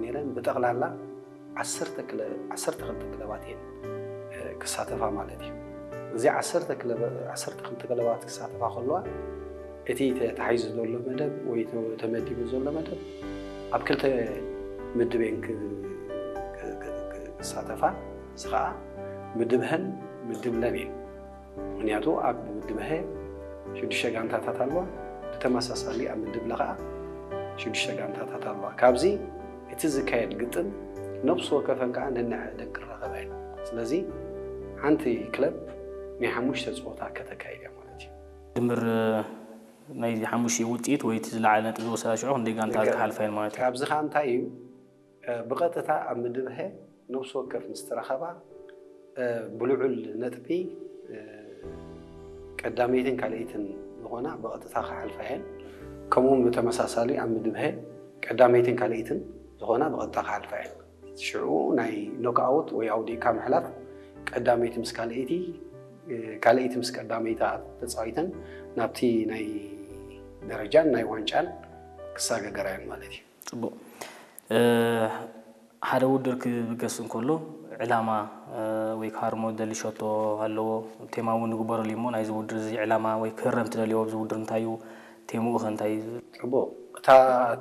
ነይረን። ብጠቕላላ ዓሰርተ ክለ- ዓሰርተ ክልተ ክለባት እየን ክሳተፋ ማለት እዩ። እዚ ዓሰርተ ክለባት ክሳተፋ ከለዋ እቲ ተታሒዙ ዘሎ መደብ ወይ ተመዲቡ ዘሎ መደብ ኣብ ክልተ ምድብ እየን ክሳተፋ። እዚ ከዓ ምድብ ሀን ምድብ ለን እየን። ምክንያቱ ኣብ ምድብ ሀ ሽዱሽተ ጋንታታት ኣለዋ። ብተመሳሳሊ ኣብ ምድብ ለ ከዓ ሽዱሽተ ጋንታታት ኣለዋ። ካብዚ እቲ ዝካየድ ግጥም ነብሲ ወከፈን ከዓ ነንዐ ደቂ ረኸባ እየን። ስለዚ ሓንቲ ክለብ ናይ ሓሙሽተ ፀወታ ከተካይድ እያ ማለት እዩ። ድምር ናይዚ ሓሙሽተ ውፅኢት ወይ እቲ ዝለዓለ ነጥቢ ዝወሰዳ ሽዑ ክንደይ ጋንታ ክሓልፋ እየን ማለት እዩ። ካብዚ ከዓ እንታይ እዩ ብቐጥታ ኣብ ምድብ ሀ ነብሲ ወከፍ ምስ ተረኸባ ብልዑል ነጥቢ ቀዳመይትን ካልኣይትን ዝኾና ብቐጥታ ክሓልፋ እየን። ከምኡውን ብተመሳሳሊ ኣብ ምድብ ሀ ቀዳመይትን ካልኣይትን ዝኾና ብቐጥታ ክሓልፋ እየን። ሽዑ ናይ ኖክኣውት ወይ ኣውዲእካ ምሕላፍ ቀዳመይቲ ምስ ካልኣይቲ ካልኣይቲ ምስ ቀዳመይታ ተፃዊተን ናብቲ ናይ ደረጃን ናይ ዋንጫን ክሳገገራ እየን ማለት እዩ። ፅቡቅ። ሓደ ውድድር ክብገስ እንከሎ ዕላማ ወይ ክሃርሞ ዝደሊ ሸቶ ኣለዎ። ቴማ እውን ይግበረሉ እሞ ናይዚ ውድድር እዚ ዕላማ ወይ ክህረም ትደልዮ ኣብዚ ውድድር እንታይ እዩ? ቴምኡ ከ እንታይ እዩ? ፅቡቅ። እታ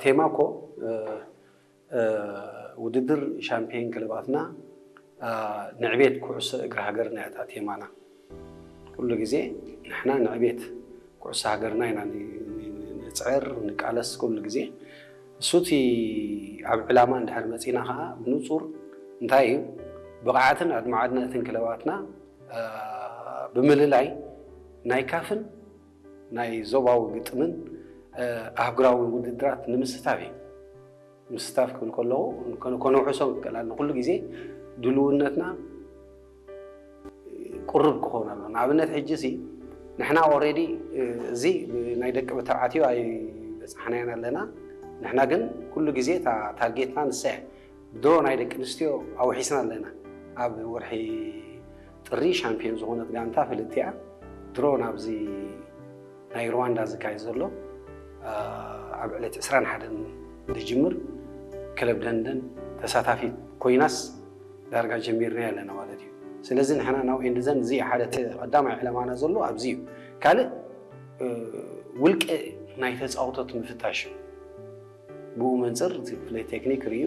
ቴማ እኮ ውድድር ሻምፒዮን ክለባትና ንዕቤት ኩዕሶ እግሪ ሃገርና እያ እታ ቴማና። ኩሉ ግዜ ንሕና ንዕቤት ኩዕሶ ሃገርና ኢና ንፅዕር ንቃለስ ኩሉ ግዜ። እሱ እቲ ኣብ ዕላማ እንድሕር መፂና ከዓ ብንፁር እንታይ እዩ ብቕዓትን ኣድማዕነትን ክለባትና ብምልላይ ናይ ካፍን ናይ ዞባዊ ግጥምን ኣህጉራዊ ውድድራት ንምስታፍ እዩ። ምስታፍ ክብል ከለዉ ከነውሕሶ ንክእል ኣለና። ኩሉ ግዜ ድልውነትና ቁርብ ክኸውን ኣሎ። ንኣብነት ሕጂ ሲ ንሕና ኦሬዲ እዚ ናይ ደቂ ተባዕትዮ ኣይበፃሕናዮን ኣለና። ንሕና ግን ኩሉ ግዜ እታ ታርጌትና ንሳ እያ። ድሮ ናይ ደቂ ኣንስትዮ ኣውሒስና ኣለና። ኣብ ወርሒ ጥሪ ሻምፒዮን ዝኾነት ጋንታ ፍልጥቲ እያ። ድሮ ናብዚ ናይ ሩዋንዳ ዝካየድ ዘሎ ኣብ ዕለት ዕስራን ሓደን ዝጅምር ክለብ ደንደን ተሳታፊት ኮይናስ ዳርጋ ጀሚርናዮ ኣለና ማለት እዩ። ስለዚ ንሕና ናው ኤንድዘን እዚ ሓደ ቀዳማይ ዕላማና ዘሎ ኣብዚ እዩ። ካልእ ውልቂ ናይ ተፃውቶት ምፍታሽ እዩ። ብኡ መንፅር እቲ ክፍለ ቴክኒክ ርእዩ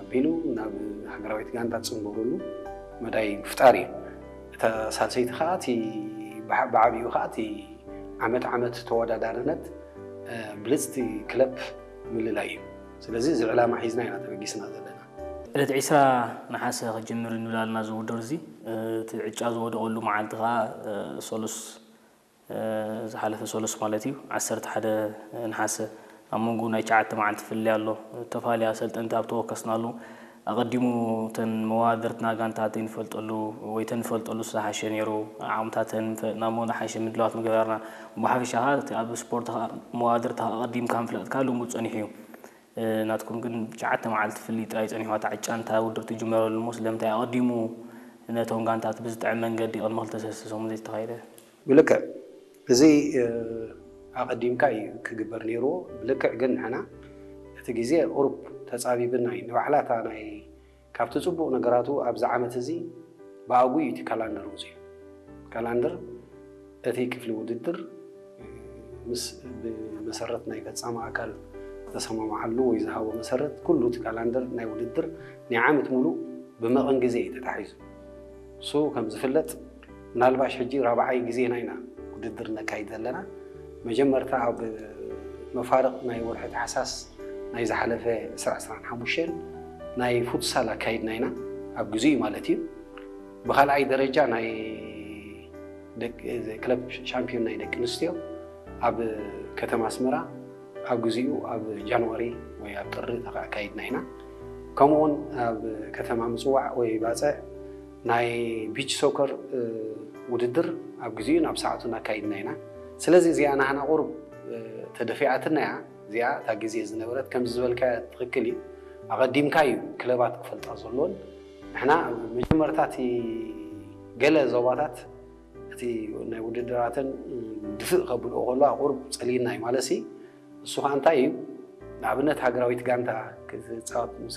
ኣቢሉ ናብ ሃገራዊት ጋንታ ትፅንበሩሉ መዳይ ምፍጣር እዩ። እታ ሳልሰይቲ ከዓ እቲ ብዓብኡ ከዓ እቲ ዓመት ዓመት ተወዳዳርነት ብልፅቲ ክለብ ምልላይ እዩ። ስለዚ እዚ ዕላማ ሒዝና ኢና ተበጊስና ዘለና። ዕለት ዕስራ ነሓሰ ክጅምር ንብል ኣለና እዚ ውድድር እዚ። እቲ ዕጫ ዝወደቐሉ መዓልቲ ከዓ ሰሉስ ዝሓለፈ ሰሉስ ማለት እዩ ዓሰርተ ሓደ ነሓሰ ኣብ መንጎ ናይ ትሽዓተ መዓልቲ ፍልልይ ኣሎ። ተፋልያ ሰልጠንቲ ኣብ ተወከስናሉ ኣቐዲሙ እተን መዋድርትና ጋንታ ዘይንፈልጠሉ ወይ ተንፈልጠሉ ዝሓሸ ነይሩ። ዓቕምታተን ናብ መንጎ ዝሓሸ ምድላዋት ምገበርና። ብሓፈሻ ከዓ እቲ ኣብ ስፖርት ከዓ መዋድርታ ኣቐዲምካ ምፍላጥካ ልሙድ ፀኒሑ እዩ። ናትኩም ግን ትሽዓተ መዓልቲ ፍልልይ ጥራይ ፀኒሑ እታ ዕጫ እንታ ውድድር ትጅመረሉ እሞ ስለምንታይ ኣቐዲሙ ነቶም ጋንታት ብዝጥዕም መንገዲ ቅድሚ ክልተ ሰለስተ ሰሙን ዘይተኻየደ? ብልክዕ እዚ ኣቐዲምካ እዩ ክግበር ነይርዎ። ብልክዕ ግን ንሕና እቲ ግዜ ቁሩብ ተፃቢብና እዩ። ንባዕላ እታ ናይ ካብቲ ፅቡቕ ነገራቱ ኣብዚ ዓመት እዚ ብኣግኡ እዩ እቲ ካላንደር ወፂኡ። ካላንደር እቲ ክፍሊ ውድድር ምስ ብመሰረት ናይ ፈፃሚ ኣካል ዝተሰማምዓሉ ወይ ዝሃቦ መሰረት ኩሉ እቲ ካላንደር ናይ ውድድር ናይ ዓመት ሙሉእ ብመቐን ግዜ እዩ ተታሒዙ። እሱ ከም ዝፍለጥ ምናልባሽ ሕጂ ራብዓይ ግዜና ኢና ውድድር ነካይድ ዘለና። መጀመርታ ኣብ መፋርቕ ናይ ወርሒ ታሕሳስ ናይ ዝሓለፈ ዕስራ ዕስራን ሓሙሽተን ናይ ፉትሳል ኣካይድና ኢና ኣብ ግዜኡ ማለት እዩ። ብካልኣይ ደረጃ ናይ ደቂ- ክለብ ሻምፒዮን ናይ ደቂ ኣንስትዮ ኣብ ከተማ ኣስመራ ኣብ ግዜኡ ኣብ ጃንዋሪ ወይ ኣብ ጥሪ ተካይድና ኢና። ከምኡውን ኣብ ከተማ ምፅዋዕ ወይ ባፅዕ ናይ ቢች ሶከር ውድድር ኣብ ግዜኡ ናብ ሰዓቱ እናካይድና ኢና። ስለዚ እዚኣ ናህና ቁሩብ ተደፊኣትና እያ። እዚኣ እታ ግዜ ዝነበረት ከምዚ ዝበልካ ትኽክል እዩ። ኣቐዲምካ እዩ ክለባት ክፈልጣ ዘለዎን ንሕና መጀመርታ እቲ ገለ ዞባታት እቲ ናይ ውድድራተን ድፍእ ከብልኦ ከሎ ኣቁርብ ፀሊና እዩ ማለት ሲ እሱ ከዓ እንታይ እዩ ንኣብነት ሃገራዊት ጋንታ ክትፃወት ምስ